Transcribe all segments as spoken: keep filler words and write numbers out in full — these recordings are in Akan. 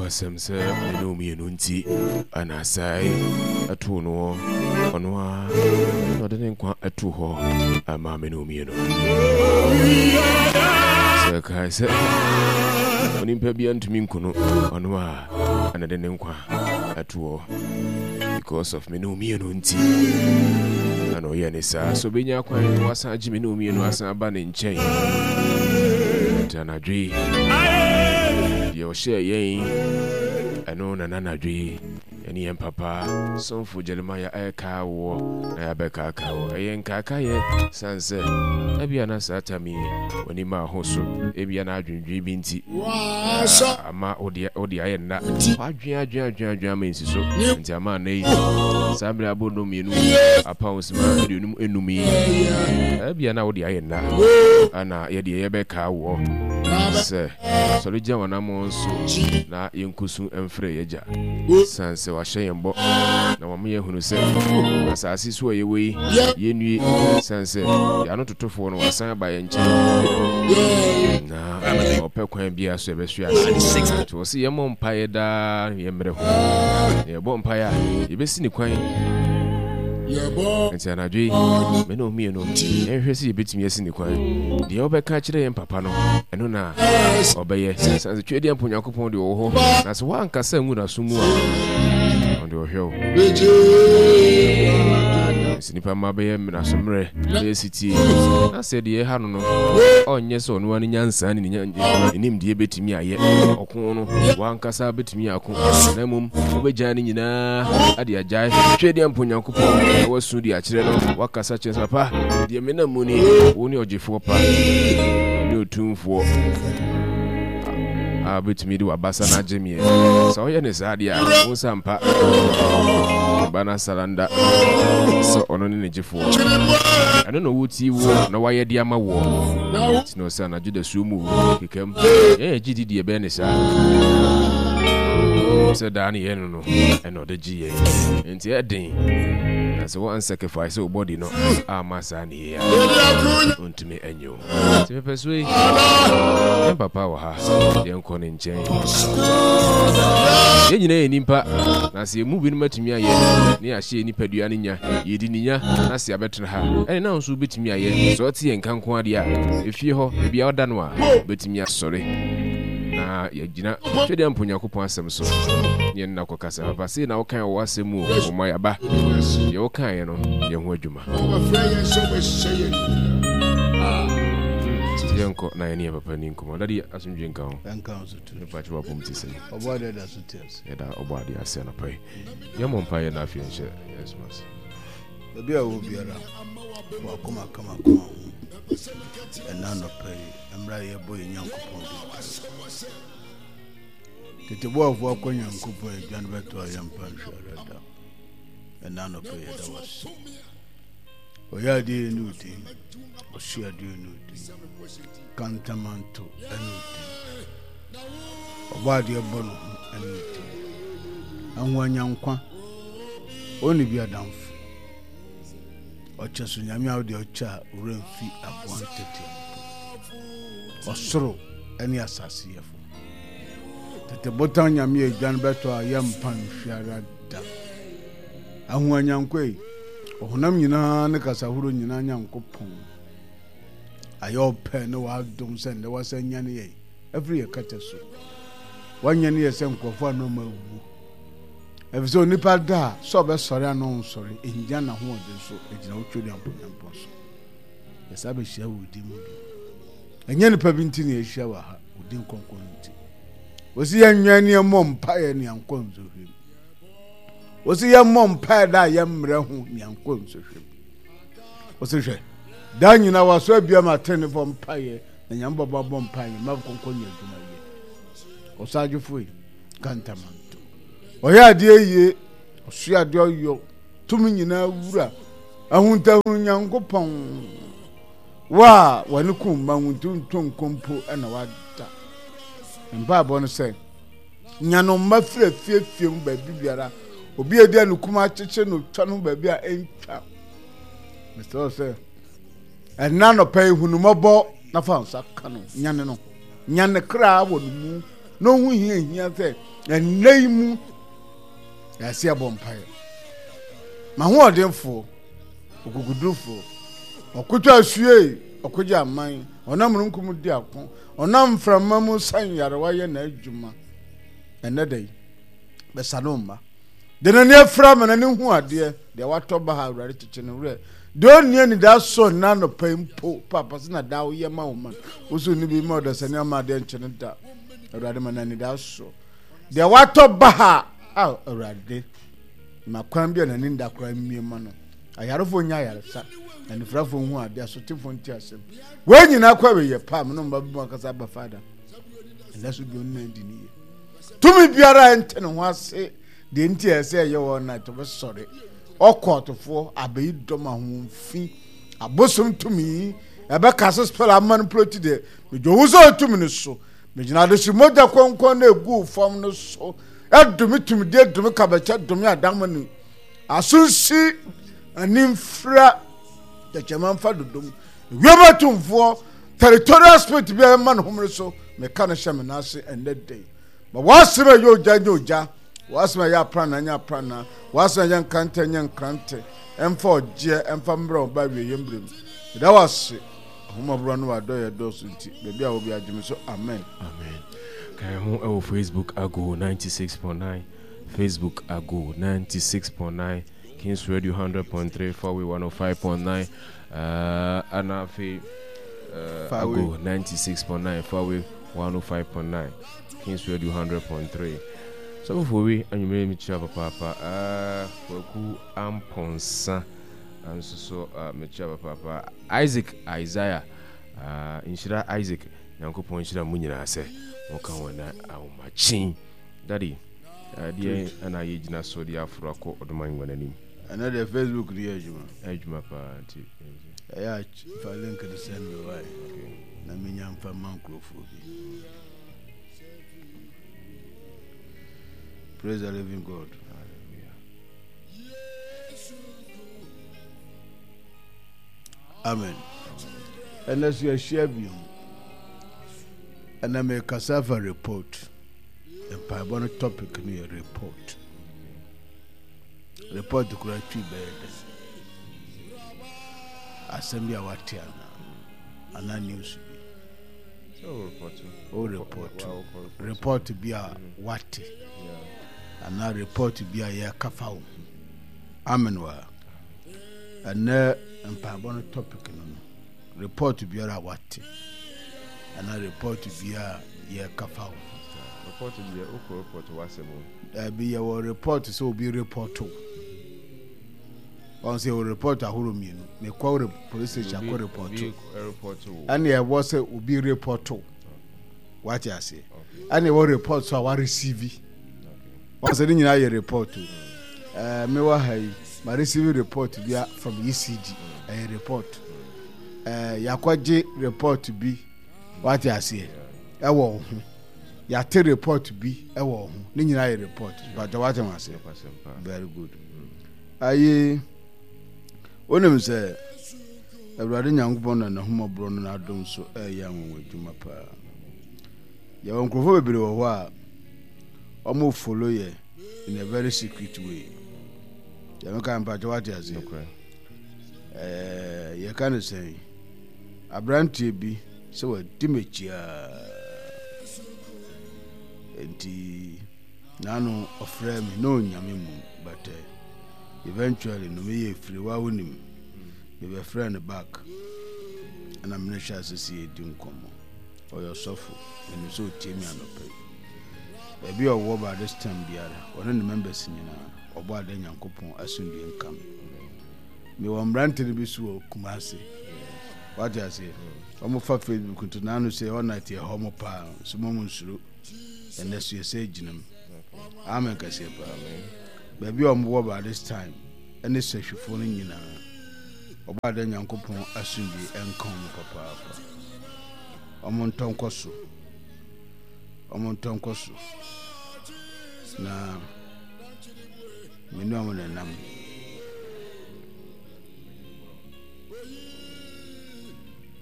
Nokwasɛm sɛ me ne wo mmienu nti ana asae ɛtoo no ɔno a na ɔde ne nkwa ɛtoo hɔ ama me ne wo mmienu. Sɛ kae sɛ onipa bia ntumi nku no, ɔno a ana de ne nkwa ɛto hɔ because of me ne wo mmienu nti ana ɔyɛ ne saa so ɔbɛnya kwan na wasan agye me ne wo mmienu asan aba ne nkyɛn. Nti anadwo yi deɛ ɔhyɛɛ yɛn ɛno na nanadwo yi ɛne yɛn papa somfo Jeremiah ɛrekaa woɔ na yɛabɛkaakaa wɔ ɛyɛ nkaakaeɛ sane sɛ ebia na saa tam yi w'ani maa ho so, ebia na adwendwen bi nti ama wode wode ayɛ nna wadwen adwen adwen adwen ama nsi so nti ama anna yi saa mmerɛ abɔ nnɔm mmienu apaw sima aduonum enum yi ebia na wode ayɛ nna ana yɛdeɛ yɛbɛkaa woɔ sɛ sɔre gyina w'anammɔn so na yɛnkɔsu mfrɛ yɛgya sane sɛ wahyɛ yɛn bɔ na wama yɛahunu sɛ asase so a yɛwɔ yi yɛnnue sane sɛ yɛano totofoɔ no wasan aba yɛn nkyɛn na ɔpɛ kwan biara so yɛbɛhwe ase. Nti wɔ sɛ yɛmmɔ mpaeɛ daa na yɛmmerɛ ho na yɛbɔ mpaeɛ a yɛbɛsi ne kwan. Nti anadwo yi me ne wo mmienu yɛnhwɛ sɛ yɛbɛtumi asi ne kwan. Deɛ wobɛka kyerɛ yɛn papa no ɛno na ɔbɛyɛ sane sɛ Twedeɛ mpo Onyankopɔn deɛ ɔwɔ hɔ na sɛ woankasa ngu n'aso mu a ɔno deɛ ɔhwɛ wo. Sɛ nipa mma bɛyɛ mmerɛsommerɛ bɛyɛ sitie na sɛ deɛ ɛha no no ɔnyɛ sɛ ɔno ara ne nyansa ne ne nimdeɛ bɛtumi ayɛ ɔko no wankasa bɛtumi ako na mmom wobɛgyaa ne nyinaa ade agyae hwɛ deɛ mpo Nyankopɔn na wasu de akyerɛ no wakasa kyerɛ sɛ papa deɛ menam mu ni wo ne ɔgyefoɔ pa ne ɔtumfoɔ a wobɛtumi de w'abasa no agye meɛ sɛ woyɛ ne saa deɛ a wo nsa mpa ba no asalanda sɛ ɔno ne ne gyefoɔ ɛno na ɔwɔ tie woɔ na wayɛ de ama woɔ nti na ɔsɛ anadwo da suo mu kekam yɛn yɛ gye di deɛ ɛbɛyɛ ne saa sɛ daa ne yɛn no no ɛna ɔde gye yɛn nti ɛden na sɛ wɔn sacrifice wo body no ama saa ne yɛ a ɔntumi ɛnyɛ o nti pɛpɛ so yi yɛn papa wɔ ha yɛnkɔ ne nkyɛn yɛn nyinaa yɛ nipa na sɛ yɛn mu binom atumi ayɛ ne yɛahyɛ yɛn nipadua no nya yɛdi ne nya na sɛ yɛabɛtena ha ɛne na nso wobɛtumi ayɛ sɛ ɔte yɛn nka nko adeɛ a efie hɔ ebi a ɔda no a wobɛtumi asɔre na yɛgyina twɛdeɛ mpo Nyankopɔn asɛm so ne yɛn nna kɔkasa papa sei na wokae wɔ w'asɛm mu o ɔma yɛaba deɛ wokaeɛ no yɛn ho adwuma yɛnkɔ na yɛne yɛ papa ni nkɔmmɔ dade asomdwe nka ho mepakyɛ wapɔm te sɛ yɛda ɔbɔ adeɛ ase anɔpa yi yɛmmɔ mpa yɛ na afei nhyɛ yɛn soma ase baabi a wɔ biara wakoma kama koma ho ɛna anɔpa yi mmerɛ a yɛbɔ yɛ Nyankopɔn din tete boafoɔ akɔ Nyankopɔn adwa no bɛtɔ a yɛmpa nhwɛ ara da ɛna anɔpa yi yɛda wase ɔyɛ adeɛ yɛ ne odin ɔhye adeɛ ne odin kantamanto ɛne odin ɔbɔ adeɛ bɔ no ho ɛne odin ahoanyankwa ɔne bi adamfo ɔkyɛ so nyame a wode ɔkyɛ a owura mfi aboa ntete mpo ɔsoro ɛne asase yɛfo tete botan nyame a adwa no bɛtɔ a yɛmpa nhwiara da ahoanyankwa yi ɔhonam nyinaa ne kasahorow nyinaa Nyankopɔn ayɛ ɔpɛ ne w'adom sɛ nnɛ wasan nyane yɛn afiri yɛ kɛtɛ so wanyane yɛ sɛ nkurɔfoɔ a na ɔma awu ɛfiri sɛ onipa da a sɛ ɔbɛsɔre a na ɔnsɔre ɛngyina n'ahoɔden so ɛgyina wo twɛdi ampɔnyampɔn so yɛsa bɛhyia wɔ din mu bi ɛnyɛ nipa bi nti na yɛahyia wɔ ha wo din kronkron nti wɔsi yɛnwɛn ne yɛmmɔ mpaeɛ ne yɛnkɔ nsɔhwɛ mu wɔsi yɛmmɔ mpaeɛ da a yɛmmerɛ ho ne yɛnkɔ nsɔhwɛ mu wɔsi hwɛ daa nyinaa wɔaso abia ma atenefoɔ mpaeɛ na nyame bɔbɔ abɔ mpaeɛ mma kɔnkɔn nyɛ adwuma yɛ ɔsagyefo yi kantamanto ɔyɛ adeɛ yie ɔsoa adeɛ ɔyɔ tumi nyinaa wura ahuntahunu nyankopɔn wo a wɔne ko mma wo nti nto nkompo na wada mpaebɔ no sɛ nya no mma firi afiefie mu baabi biara obi a edi anukum akyekye no twa no baabi a ɛntwa mesrɛ wo sɛ ɛna nɔpɛ yi hunu mmɔbɔ na fa nsa ka no nyane no nyane kra wɔ no mu Na ɔhu hia hia sɛ ɛnnɛ yi mu yɛase abɔ mpaeɛ. M'ahoɔdenfoɔ, okokodurufoɔ, ɔkoto asue, ɔkogye aman, ɔnam mununkum di ako, ɔnam mframa mu sa nyarewa yɛ n'adwuma. Ɛnnɛ da yi, bɛsa no mma. Deɛ n'ani afira ma n'ani hu adeɛ, deɛ watɔ ba ha, Awurade kyekye ne werɛ. Deɛ ɔnni anidasoɔ nna anɔpa yi mpo, Paapa sɛ na daa woyɛ ma wo man. Wo so nni bi ma ɔdasani ama adeɛ nkye no da. Awurade ma no anidasoɔ. Deɛ watɔ ba ha, a Awurade, ma kwan bi a n'ani nda koraa mmue ma no. Ayarefoɔ nya ayaresa, anifirafoɔ hu adeɛ, asotefoɔ nte asɛm. Wei nyinaa kɔ awieeɛ pa, me ne mma bi mu akasa aba Father. Ɛnɛ so bio nna di ne yie. Tumi biara a ɛnte ne ho ase deɛ nti a ɛsɛ ɛyɛ wɔn na ɛtɔ ɔkɔɔtofoɔ abɛyi dɔm ahoɔmfi abosom tumi ɛbɛka so spɛl ama no ploti deɛ medwo wo sɛ ɔtumi no so megyina ade so mogya kɔnkɔn na ɛguu fam no so ɛdome tumidie dome kabɛkyɛ dome adamane asonsi animfira tɛkyɛma mfa dodom wiem atumfoɔ territorial spirit bi a ɛma no homene so meka no hyɛ me nan ase ɛnnɛ da yi ma w'asɛm a ɛyɛ ogya nyɛ ogya w'asɛm a ɛyɛ aprannaa nyɛ aprannaa w'asɛm a ɛyɛ nkrantɛ nyɛ nkrantɛ ɛmfa ɔgyeɛ ɛmfa mmerɛ wo ba awieeɛ mmerɛ mu meda w'ase ahomɔborɔ ne w'adɔeɛ dɔɔso nti baabi a wɔ bi agye me so amen. Amen. Ka yɛn ho ɛwɔ Facebook Ago ninety six point nine, Facebook Ago ninety six point nine, Kings Radio hundred point three, Fawe one oh five point nine, uh, ɛna afei uh, Ago ninety six point nine, Fawe one oh five point nine, Kings Radio hundred point three. Sɔfo wi anwummerɛ mi kyerɛ papaapa, uh, Kwaku Ampɔnsa nso so uh, mekyerɛ papaapa, Isaac Isaiah, uh, nhyira Isaac, Nyankopɔn nhyira mu nyinaa sɛ moka ho na ahomakyen. Daddy, ɛdeɛ ɛna yɛgyina so de aforo akɔ ɔdoma ngua n'anim. Ɛnɛ deɛ Facebook no yɛ adwuma. Adwuma paa nti. Ɛyɛ a fa link no send me wae na menya mfa ma nkurɔfoɔ bi. Praise the living God. Hallelujah. Amen. Ɛnɛ so yɛahyia bio. Ɛnɛ mekasa fa report. Mpaebɔ no topic no yɛ report. Report kura twi bɛyɛ dɛ. Asɛm bi a wate ana anaa news bi. O report. Report bi a wate anaa report bi a yɛka fa wo ho. Amen wa. Ɛnɛ mpaebɔ no topic no no report biara a wate anaa report biara a yɛka fa wo ho. Report deɛ wokɔ report w'asɛm o. Dabi yɛwɔ report sɛ obi report wo. Wɔn sɛ yɛwɔ report ahorow mmienu. Mekɔ police station akɔ report. Ɛna ɛwɔ sɛ obi report wo. Wate aseɛ. Ɛna ɛwɔ report so a wa receive. Wɔn sɛ ne nyinaa yɛ report o. Ɛɛ mewɔ ha yi, ma receive report bi from E C G. Ɛyɛ report. Ɛɛ yakɔgye report bi. Wate aseɛ. Ɛwɔ wo ho. Yɛate report bi ɛwɔ wo ho. Ne nyinaa yɛ report. But wate ho aseɛ. Very good. Ayi, wonim sɛ Awurade Nyankopɔn na n'ahummɔborɔ no n'adom so ɛreyɛ anwanwa adwuma paa. Yɛwɔ nkurɔfoɔ bebree wɔ hɔ a wɔn follow yɛ in a very secret way. Yɛn ka mpakyɛ wate aseɛ. Ɛɛ yɛka no sɛn, aberanteɛ bi sɛ wadi m'akyi aa nti n'ano ɔfrɛ me na ɔnya me mu but uh, eventually no meyɛ firi wa wonim mebɛfrɛ no back ɛna mene hyɛ ase sɛ yɛdi nkɔmmɔ. Ɔyɛ ɔsɔfo, menim sɛ ɔtie me anɔpa yi. Baabi a ɔwɔ by this time biara, ɔne ne members nyinaa, ɔbɔ ada Nyankopɔn asomdue nka me. Mewɔ mmerante no bi so wɔ Kumasi. Wate aseɛ? Wɔn fa Facebook nti n'ano sɛ all night yɛ hɔ mo paa, so mo mo nsuro. Ɛnɛ so yɛsɛ gyina mu. Amen kɛseɛ paa. Baabi a wɔn wɔ by this time ɛne sɛhwifoɔ no nyinaa, ɔbɔ ada Nyankopɔn asomdue nka wɔn papaapa. Wɔn ntɔ nkɔ so. Wɔn ntɔ nkɔ so. Na me ne wɔn nenam.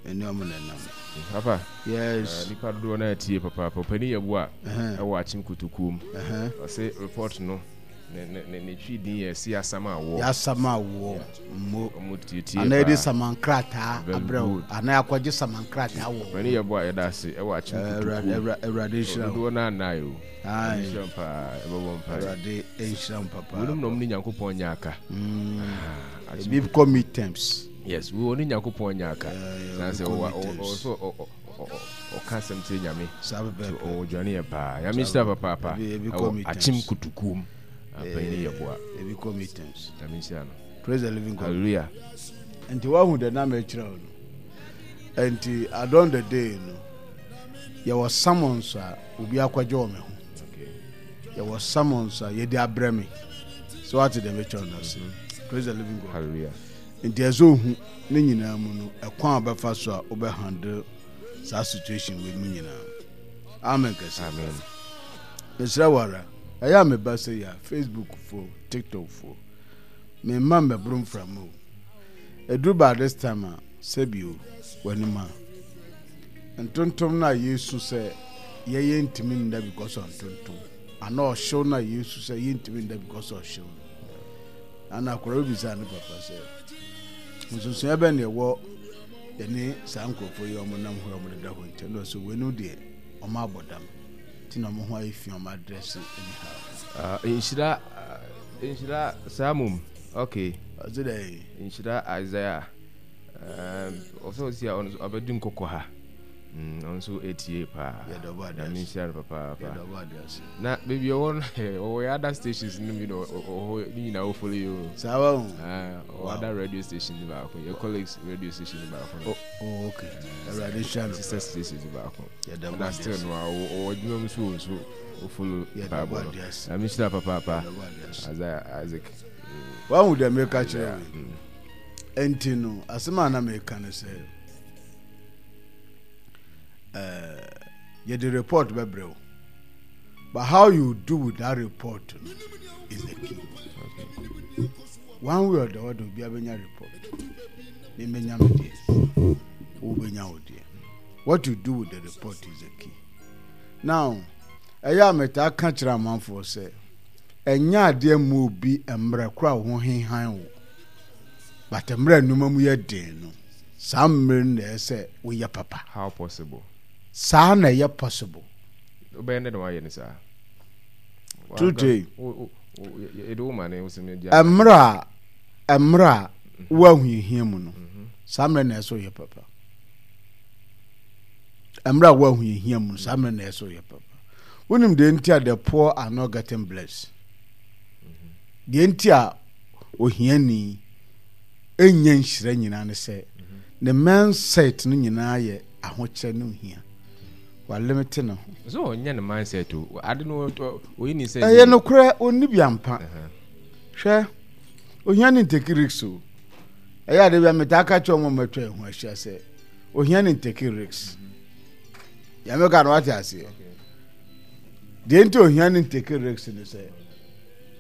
Me ne wɔn nenam. Papa. Yes. Uh, nipa dodoɔ no atie papaapa. Ɔpani yɛ bo a ɛwɔ Akyem Kotokuo mu. Ɔse report no ne ne ne ne twi din yɛ si asam awoɔ. Yasam awoɔ mo. Ɔmo tietie Anaa yɛde saman krataa abrɛ wo. Anaa akɔgye saman krataa wɔ. Ɔpani yɛ bo a yɛda ase ɛwɔ Akyem Kotokuo mu. Awurade nhyira wo. Dodoɔ no anan o. Nhyira wo paa, ɛbɛbɔ mpaeɛ. Awurade nhyira wo papa. Weinom na ɔmo ne Nyankopɔn nyɛ aka. Ebi kɔ midterms. Yes, wei ɔne Nyankopɔn nyɛ aka. San sɛ ɔwɔ ɔwɔ sɛ ɔka asɛm kyerɛ Nyame. Saa pɛpɛɛpɛ. Ɔwɔ dwane yɛ paa. Nyame nhyira papaapa. Ɛwɔ Akyem Kotokuom. Apanyin yɛ boa. Ebi kɔ midterms. Nyame nhyira no. Praise the living God. Hallelujah. Nti wahu dɛ na mɛkyerɛ wo no. Nti adon the day no, yɛwɔ summons a obi akɔgye wɔ me ho. Yɛwɔ summons a yɛde abrɛ me. So wate dɛ mɛkyerɛ no ase. Praise the living God. Hallelujah. Nti ɛsɛ ohu ne nyinaa mu no, ɛkwan a wobɛfa so a wobɛ handle saa situation wei mu nyinaa. Amen kɛse. Amen. Mesrɛ wo ara, ɛyɛ a meba sɛ yɛ a, Facebook fo, TikTok fo, memma mmɛboro mframa o. Ɛduru by this time a, sɛbi o, w'anim a. Ntontom no a yɛsu sɛ yɛyɛ ntumi nda because of ntontom, anaa ɔhyew no a yɛsu sɛ yɛntumi nda because of ɔhyew no. Ana akwadaa bi bisaa ne papa sɛ, nsonsonoeɛ bɛn na ɛwɔ yɛne saa nkurɔfoɔ yi a wɔnam hɔ a wɔdeda hɔ ntam? Na ɔsɛ weinom deɛ wɔn abɔ dam nti na wɔn ho ayɛ fi, wɔn adrɛse anyhow. Uh, nhyira nhyira saa mom. Okay. Ɔsɛ dɛ. Nhyira Isaiah. Ɔsɛ ɔsi a ɔno nso abɛdi nkɔkɔ ha. Ɔno nso etie paa. Nyame nhyira no papaapa. Na baabi ɔwɔ no, ɔwɔ yɛ other stations no bi na ɔwɔ ne nyinaa wɔ follow yi o. Saa wa ho. Ɔwɔ other radio station no baako, yɛ colleagues radio station no baako no. Oh, okay. Awurade nhyira no. Sister station no baako. Na still no ɔwɔ adwuma mu so wɔ nso o follow Bible no. Nyame nhyira papaapa. Isaiah Isaac. Wahu deɛ meka kyerɛ wo. Enti no, asɛm a na meka ne sɛ, eh, yɛde report bɛbrɛ wo. But how you do with that report no is the key. Okay. One way or the other, obi abɛnya report. Me mɛnya me deɛ, wo bɛnya wo deɛ. What you do with the report is the key. Now, ɛyɛ a metaa ka kyerɛ amanfoɔ sɛ, ɛnyɛ adeɛ mma obi mmerɛ koro a wo ho hehan wo. But mmerɛ a nneɛma mu yɛ den no, saa mmerɛ no na ɛyɛ sɛ woyɛ papa. How possible? Saa na ɛyɛ possible. Wobɛyɛ dɛ na wayɛ no saa? True day. Yɛde wo ma ne wo sɛ Mmerɛ a mmerɛ a wo ahohiahia mu no, saa mmerɛ na ɛyɛ sɛ woyɛ papa. Mmerɛ a wo ahohiahia mu no, saa mmerɛ na ɛyɛ sɛ woyɛ papa. Wonim deɛ nti a the poor are not getting blessed? Deɛ nti a ohiani nnya nhyira nyinaa ne sɛ ne mindset no nyinaa yɛ ahokyerɛ ne ohia. Walimite ne ho. So ɔnyɛ ne mindset o. Ade no oyi ne sɛ. Ɛyɛ nokorɛ, ɔnni bi ampa. Hwɛ, ohia ne ntake risk o. Ɛyɛ ade bi a metaa ka kyerɛ wɔn a matwa yɛn ho ahyia sɛ ohia ne ntake risk. Deɛ meka no wate aseɛ. Deɛ nti ohia ne ntake risk ne sɛ